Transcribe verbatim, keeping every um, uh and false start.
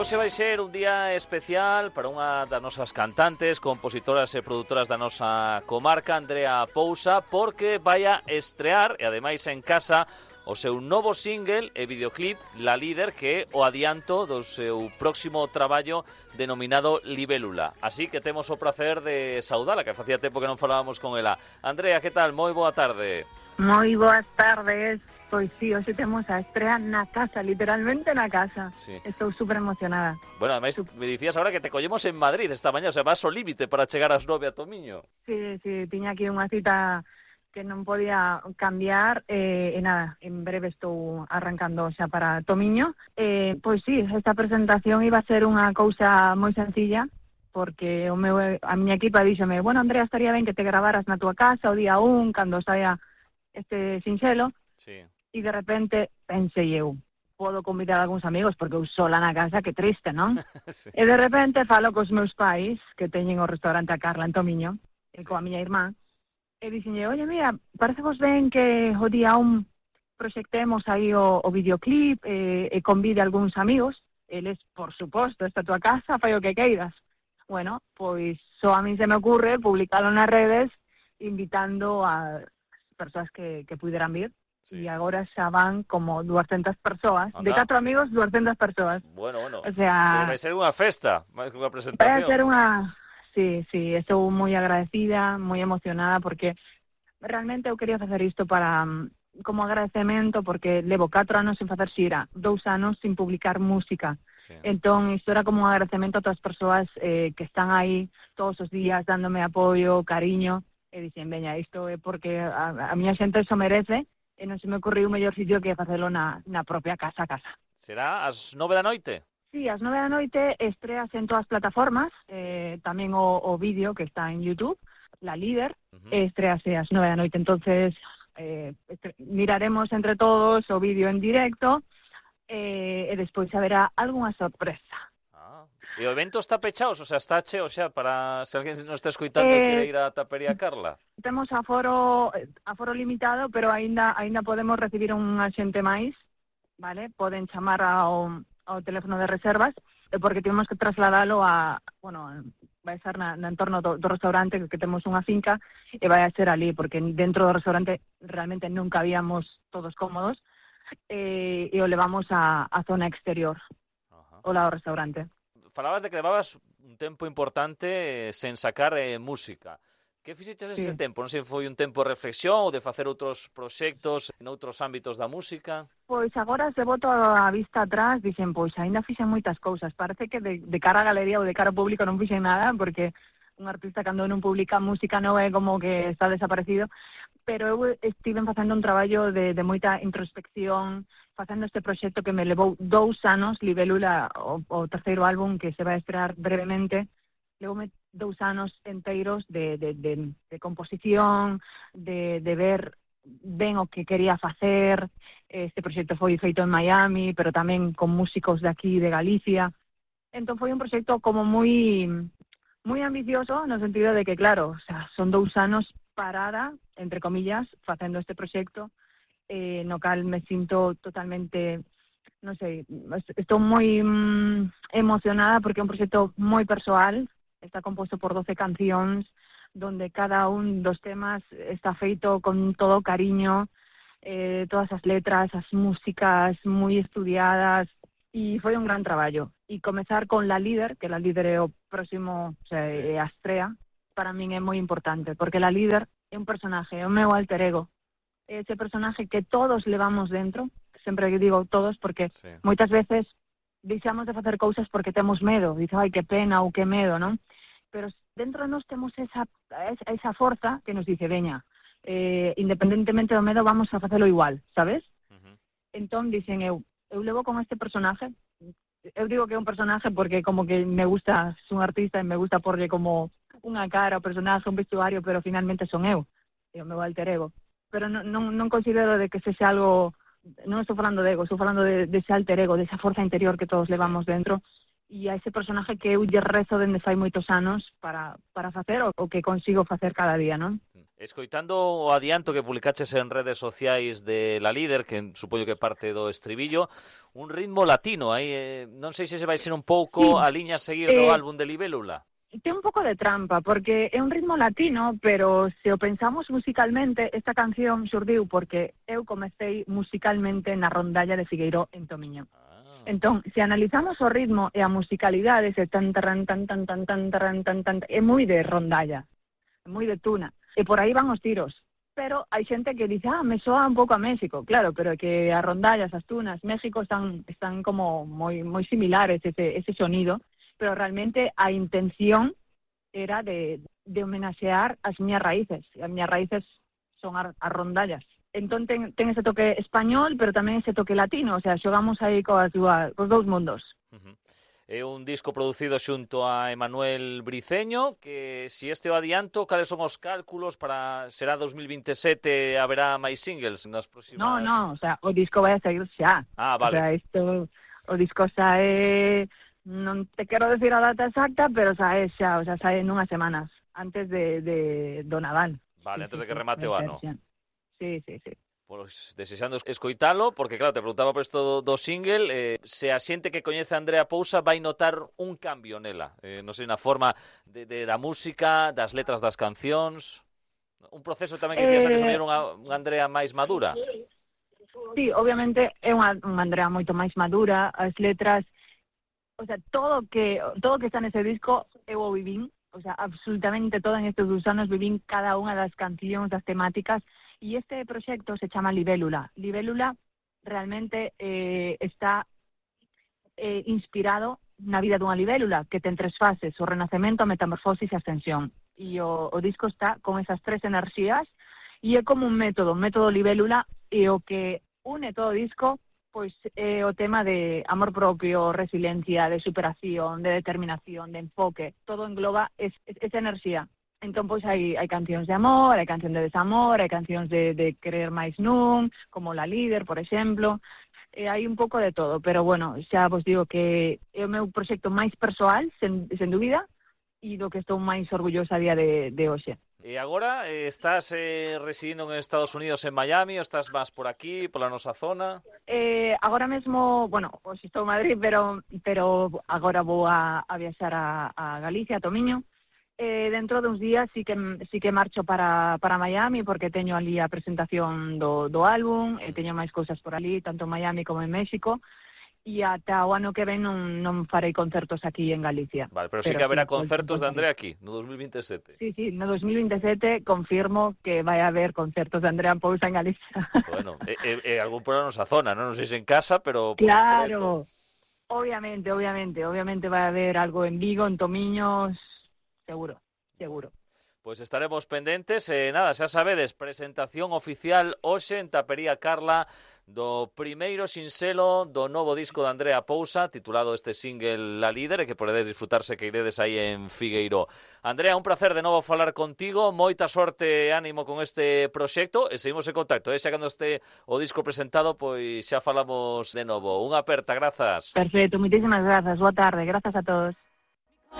hoxe vai ser un día especial para unha das nosas cantantes, compositoras e produtoras da nosa comarca, Andrea Pousa, porque vai a estrear, e ademais en casa, o seu novo single e videoclip, La Líder, que é o adianto do seu próximo traballo denominado Libélula. Así que temos o prazer de saudala, que facía tempo que non falábamos con ela. Andrea, que tal? Moi boa tarde. Moi boas tardes. Pois sí, hoxe temos a estrea na casa, literalmente na casa. Sí. Estou super emocionada. Bueno, ademais, me dicías agora que te collemos en Madrid esta mañá, o sea, vas ao límite para chegar ás nove a Tomiño. Sí, sí, tiña aquí unha cita que non podía cambiar, eh, e nada, en breve estou arrancando xa para Tomiño. Eh, pois sí, esta presentación iba a ser unha cousa moi sencilla, porque o meu, a miña equipa díxome, bueno, Andrea, estaría ben que te gravaras na tua casa o día un, cando saia este sinxelo. Sí. E de repente pensei eu, podo convidar a algúns amigos porque eu sola na casa, que triste, non? Sí. E de repente falo cos meus pais, que teñen o restaurante A Carla en Tomiño, e sí, coa miña irmá, e dixenlle, oye, mira, parece vos ben que o día un proxectemos aí o, o videoclip e, e convide a algúns amigos. Eles, por suposto, esta tua casa, fai o que queiras. Bueno, pois só a mí se me ocurre publicalo nas redes invitando a persoas que, que puderan vir. Sí. E agora xa van como duascentas persoas. Anda. De catro amigos, duascentas persoas. Bueno, bueno. O sea, vai ser unha festa, máis que unha presentación. Vai ser unha... Sí, sí, estou moi agradecida, moi emocionada, porque realmente eu quería facer isto para como agradecemento, porque levo catro anos sen facer xira, dous anos sin publicar música. Sí. Entón, isto era como un agradecemento a todas as persoas eh, que están aí todos os días dándome apoio, cariño, e dicen, veña, isto é porque a, a miña xente eso merece, e non se me ocorriu o mellor sitio que facelo na, na propia casa a casa. Será ás nove da noite? Sí, ás nove da noite estreas en todas as plataformas, eh, tamén o, o vídeo que está en YouTube, La Líder, uh-huh. estrease ás nove da noite, entonces eh, estre- miraremos entre todos o vídeo en directo, eh, e despois haberá algunha sorpresa. E o evento está pechado, o sea, está cheo xa para se alguén nos está escoitando eh, quere ir á Tapería Carla. Temos aforo aforo limitado, pero aínda aínda podemos recibir unha xente máis, vale? Poden chamar ao ao teléfono de reservas, porque temos que trasladalo a, bueno, vai ser na, no entorno do, do restaurante, que temos unha finca, e vai a ser ali, porque dentro do restaurante realmente non cabíamos todos cómodos, e, e o levamos a, a zona exterior, uh-huh. o lado do restaurante. Falabas de que levabas un tempo importante sen sacar eh, música. Que fixeches ese sí. tempo? Non sei se foi un tempo de reflexión ou de facer outros proxectos en outros ámbitos da música? Pois agora, se boto a vista atrás, dixen, pois aínda fixen moitas cousas. Parece que de, de cara a galería ou de cara ao público non fixen nada, porque un artista cando non publica música non é como que está desaparecido, pero eu estive facendo un traballo de, de moita introspección, facendo este proxecto que me levou dous anos, Libélula, o, o terceiro álbum que se vai estrear brevemente, levoume dous anos enteiros de, de, de, de composición, de, de ver ben o que quería facer. Este proxecto foi feito en Miami, pero tamén con músicos de aquí, de Galicia. Entón foi un proxecto como moi moi ambicioso, no sentido de que, claro, o sea, son dous anos parada, entre comillas, facendo este proxecto, eh, no cal me sinto totalmente, non sei, estou moi mm, emocionada porque é un proxecto moi persoal, está composto por doce cancións, donde cada un dos temas está feito con todo cariño, eh, todas as letras, as músicas moi estudiadas, e foi un gran traballo. E comezar con La Líder, que La Líder é o próximo, o sea, sí. é a estrea, para min é moi importante, porque La Líder é un personaje, é o meu alter ego. É ese personaje que todos levamos dentro, sempre digo todos, porque sí. moitas veces deixamos de facer cousas porque temos medo, dice, ai, que pena ou que medo, non? Pero dentro de nós temos esa, esa forza que nos dice, veña, eh, independentemente do medo, vamos a facelo igual, sabes? Uh-huh. Entón, dicen, eu, eu levo con este personaje, eu digo que é un personaje porque como que me gusta, son artista e me gusta porlle como unha cara, un personaje, un vestuario, pero finalmente son eu, é o meu alter ego. Pero non, non, non considero de que sexa algo, non estou falando de ego, estou falando de, de ese alter ego, de esa forza interior que todos sí. levamos dentro, e a ese personaje que eu lle rezo dende fai moitos anos para, para facer o, o que consigo facer cada día, non? Escoitando o adianto que publicaches en redes sociais de La Líder, que supoño que parte do estribillo, un ritmo latino, aí eh, non sei se se vai ser un pouco Sí. a liña a seguir Eh, do álbum de Libélula. Ten un pouco de trampa, porque é un ritmo latino, pero se o pensamos musicalmente, esta canción xurdiu porque eu comecei musicalmente na rondalla de Figueiró en Tomiño. Ah. Entón, se analizamos o ritmo e a musicalidade, ese tan tan tan tan tan tan tan tan tan, é moi de rondalla, moi de tuna. E por aí van os tiros. Pero hai xente que dice, ah, me soa un pouco a México. Claro, pero é que as rondallas, as tunas, México están están como moi moi similares ese ese sonido, pero realmente a intención era de, de homenaxear as miñas raíces. E as miñas raíces son as, as rondallas. Entón ten, ten ese toque español, pero tamén ese toque latino. O sea, xogamos aí coas dúas, cos dous mundos. Uh-huh. É un disco producido xunto a Emanuel Briceño, que si este o adianto, cales son os cálculos para será dos mil vinte e sete, haberá máis singles nas próximas... No, no, o sea, o disco vai a sair xa. Ah, vale. O sea, isto, o disco sae, non te quero decir a data exacta, pero sae xa, o sea, sae nunhas semanas, antes de, de do Nadal. Vale, Sí, antes sí, de que sí, remate o ano. Sí, sí, sí. Pois desexando escoitalo, porque claro, te preguntaba por isto do, do single, eh, se a xente que coñece a Andrea Pousa vai notar un cambio nela, eh, non sei, na forma de, de da música, das letras das cancións, un proceso tamén que dicías antes, Eh... unha, unha Andrea máis madura. Sí, obviamente é unha, unha Andrea moito máis madura, as letras, o sea, todo que todo que está nese disco eu o vivín, o sea, absolutamente todo en estes dous anos vivín cada unha das cancións, das temáticas. Y este proxecto se chama Libélula. Libélula realmente eh, está eh, inspirado na vida dunha libélula, que ten tres fases, o renacemento, a metamorfosis e a ascensión. E o, o disco está con esas tres enerxías, e é como un método, un método libélula, e o que une todo o disco, pois é o tema de amor propio, resiliencia, de superación, de determinación, de enfoque. Todo engloba es, es, esa enerxía. Entón, pois, hai, hai cancións de amor, hai cancións de desamor, hai cancións de, de querer máis nun, como La Líder, por exemplo, e hai un pouco de todo, pero, bueno, xa vos digo que é o meu proxecto máis persoal, sen, sen dúbida, e do que estou máis orgullosa a día de, de hoxe. E agora, eh, estás eh, residindo en Estados Unidos, en Miami, ou estás máis por aquí, pola nosa zona? Eh, agora mesmo, bueno, hoxe estou en Madrid, pero, pero agora vou a, a viaxar a, a Galicia, a Tomiño. Eh, dentro de uns días sí que sí que marcho para, para Miami, porque teño ali a presentación do, do álbum, e teño máis cousas por ali, tanto en Miami como en México, e ata o ano que ven non, non farei concertos aquí en Galicia. Vale, pero, pero sí que haberá sí, concertos de Andrea aquí, no dos mil vinte e sete. Sí, sí, no dos mil vinte e sete confirmo que vai haber concertos de Andrea Pousa en Galicia. Bueno, e, e, e algún por a nosa zona, non, non sei se en casa, pero... Claro, obviamente, obviamente, obviamente vai haber algo en Vigo, en Tomiños... Seguro, seguro. Pois estaremos pendentes e nada, xa sabedes, presentación oficial hoxe en Tapería Carla do primeiro sinxelo do novo disco de Andrea Pousa, titulado este single La Líder, e que podedes disfrutarse que iredes aí en Figueiró. Andrea, un placer de novo falar contigo, moita sorte e ánimo con este proxecto, e seguimos en contacto, e xa cando este o disco presentado, pois xa falamos de novo. Unha aperta, grazas. Perfecto, moitísimas grazas, boa tarde, grazas a todos.